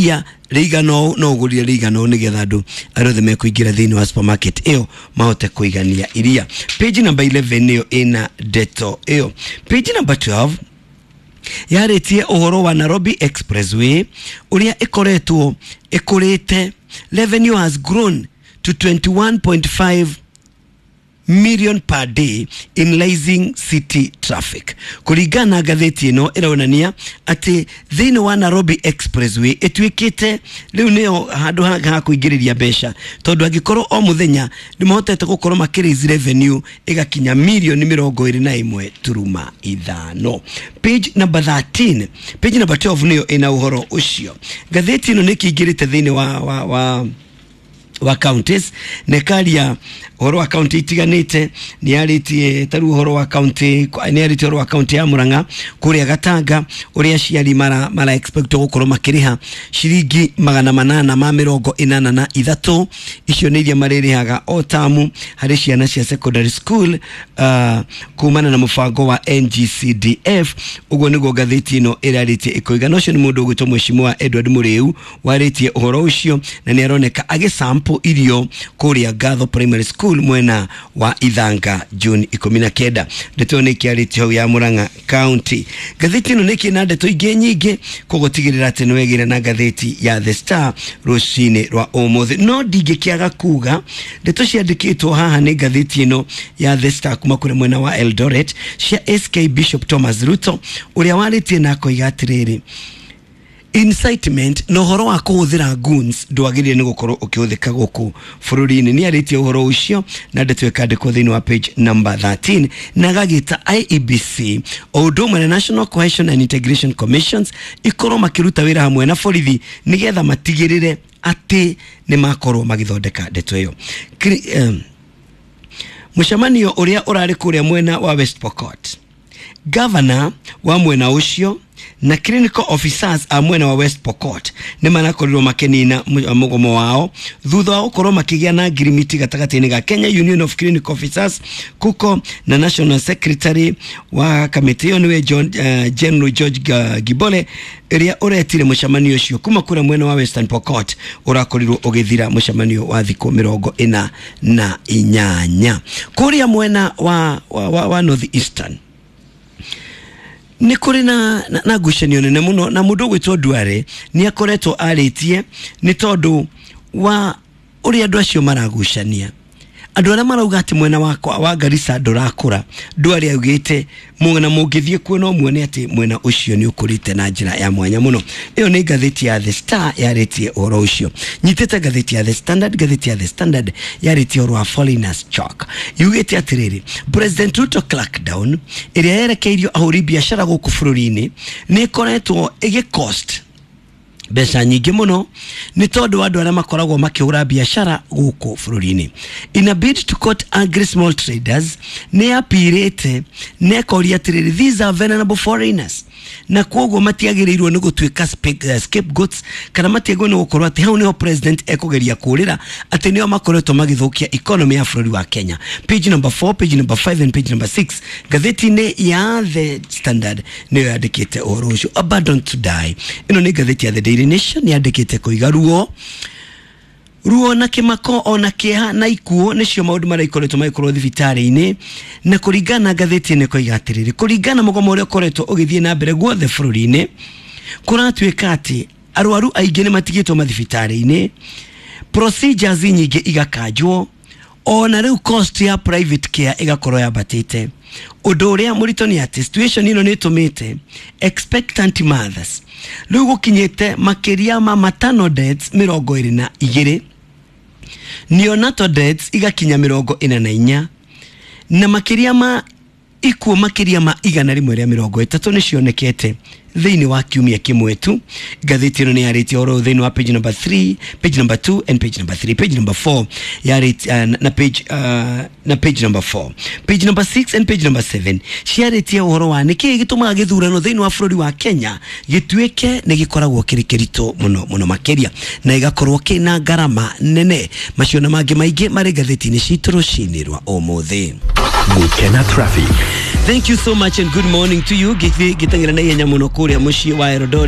Iria rĩigana ũũ no ũgũrire rĩigana ũũ nĩgetha andũ arĩa othe mekũingĩra thĩinĩ wa supermarket ĩyo mahote kũigania iria. Page number 11 nĩyo ĩna ndeto ĩyo. Page number 12 yarĩtie ũhoro wa Nairobi Expressway ũrĩa ĩkoretwo ĩkũrĩte. Revenue has grown to 21.5 million per day in rising city traffic. Kũringana na ngathĩti ĩno ĩronania atĩ thĩinĩ wa Nairobi Expressway ĩtuĩkĩte rĩu nĩyo handũ ha kũingĩrĩria mbeca, tondũ angĩkorwo o mũthenya nĩ mahotete gũkorwo makĩ raise revenue ĩgakinya mirioni 21.5. Page number 13, page number 12 nĩyo ĩna ũhoro ũcio. Ngathĩti ĩno nĩ ĩkĩingĩrĩte thĩinĩ wa counties na ĩkaria ũhoro wa county itiganĩte. Nĩ yarĩtie tarĩu ũhoro wa county, nĩ yarĩtie ũhoro wa county ya Murang'a kũrĩa Gatanga, ũrĩa aciari mara expect gũkorwo makĩrĩha ciringi 883. Icio nĩ iria marĩrĩhaga o tamu harĩ ciana cia secondary school kumana na mũbango wa NGCDF. Ũguo nĩguo ngathĩti ĩno ĩrarĩtie ĩkoiga. Na ũcio nĩ mũndũ ũgwĩtwo Mheshimiwa Edward Mũrĩu warĩtie ũhoro ũcio, na nĩ aroneka agĩsample irio kũrĩa Gatho Primary School mwena wa Ithanga June 19. Ndeto ĩyo nĩ ĩkĩarĩtio hau ya Murang'a County. Ngathĩti ĩno nĩ ĩkĩrĩ na ndeto ingĩ nyingĩ, koguo tigĩrĩra atĩ nĩ wegĩra na ngathĩti ya The Star rũcinĩ rwa ũmũthĩ. No ndingĩkĩaga kuga ndeto ciandĩkĩtwo haha nĩ ngathĩti ĩno ya The Star kuma kũrĩ mwena wa Eldoret cia SK Bishop Thomas Ruto, ũrĩa warĩtie na akoiga atĩrĩrĩ, incitement na ũhoro wa kũhũthĩra guns ndwagĩrĩire nĩ gũkorwo ũkĩhũthĩka gũkũ bũrũri-inĩ. Nĩ arĩtie ũhoro ũcio na ndeto ĩkandĩkwo thĩinĩ wa page number 13, na agagĩta IEBC o ũndũ ũmwe na National Cohesion and Integration Commissions ikorwo makĩruta wĩra hamwe na borithi nĩgetha matigĩrĩre atĩ nĩ makorwo magĩthondeka ndeto ĩyo. Mũcemanio ũrĩa ũrarĩ kũrĩa mwena wa West Pokot, governor wa mwena ũcio na clinical officers a mwena wa West Pokot nĩ marakorirwo makĩnina mũgomo wao thutha wa gũkorwo makĩgĩa na ngirimiti gatagatĩ-inĩ ga Kenya Union of Clinical Officers KUCO na National Secretary wa kamĩtĩ ĩyo nĩwe John, General George Gibole, ĩrĩa ũretire mũcemanio ũcio kuma kũrĩa mwena wa Western Pokot ũrakorirwo ũgĩthira mũcemanio wa thikũ 48. Kũrĩa mwena wa North Eastern nĩ kũrĩ na ngucanio nene mũno, na mũndũ ũgwĩtwo Duale nĩ akoretwo arĩtie nĩ tondũ wa ũrĩa andũ acio maragucania, andũ arĩa marauga atĩ mwena wakwa wa Garissa ndũrakũra. Duale augĩte mwena mũngĩthiĩ kuo no muone atĩ mwena ũcio nĩ ũkũrĩte na njĩra ya mwanya mũno. Ĩyo nĩ ngathĩti ya The Star yarĩtie ũhoro ũcio. Nyitĩte ngathĩti ya The Standard. Ngathĩti ya The Standard yarĩtie ũhoro wa foreigners choke, yugĩte atĩrĩrĩ, President Ruto crackdown ĩrĩa yerekeirio ahũri biacara gũkũ bũrũri-inĩ nĩ ĩkoretwo ĩgĩ cost mbeca nyingĩ mũno nĩ tondũ wa andũ arĩa makoragwo makĩhũra biacara gũkũ bũrũri-inĩ. In a bid to court angry small traders, nĩ apirĩte na ĩkoria atĩrĩrĩ, these are vulnerable foreigners, na koguo matiagĩrĩirwo nĩ gũtuĩka scapegoats, kana matiagĩrĩirwo nĩ gũkorwo atĩ hau nĩho president ekũgeria kũrĩra atĩ nĩo makoretwo magĩthũkia economy ya bũrũri wa Kenya. Page number 4, page number 5 and page number 6 ngathĩti-inĩ ya The Standard nĩyo yandĩkĩte ũhoro ũcio. Abandoned to die, ĩno nĩ ngathĩti ya The Daily Nation, yandĩkĩte kũiga ruo na kĩmako ona kĩeha na ikuũ nĩcio maũndũ marĩa ikoretwo magĩkorwo thibitarĩ-inĩ. Na kũringana na ngathĩti ĩno ĩkoiga atĩrĩrĩ, kũringana na mũgomo ũrĩa ũkoretwo ũgĩthiĩ na mbere guothe bũrũri-inĩ, kũratuĩka atĩ arwaru aingĩ nĩ matigĩtwo mathibitarĩ-inĩ, procedures nyingĩ igakanjwo, ona rĩu cost ya private care ĩgakorwo yambatĩte. Ũndũ ũrĩa mũritũ nĩ atĩ situation ĩno nĩ ĩtũmĩte expectant mothers rĩu gũkinyĩte makĩria ma maternal deaths 22, neonatal deaths igakinya 44, na makĩria ma ikuũ makĩria ma 130 nĩ cionekete thĩinĩ wa kiumia kĩmwe tu. Ngathĩti ĩno nĩ yarĩtie ũhoro thĩinĩ wa page number 3, page number 2 and page number 3. Page number 4 yarĩtie na page number 4, page number 6 and page number 7 ciarĩtie ũhoro wa nĩkĩĩ gĩtũmaga gĩthurano thĩinĩ wa bũrũri wa Kenya gĩtuĩke nĩ gĩkoragwo kĩrĩ kĩritũ mũno mũno makĩria na gĩgakorwo kĩna ngarama nene. Macio na mangĩ maingĩ marĩ ngathĩti-inĩ citũ rũcinĩ rwa ũmũthĩ. Gukena Traffic. Thank you so much and good morning to you. Gĩteng'era na ihenya mũno kũrĩa mũciĩ wa Eldoret.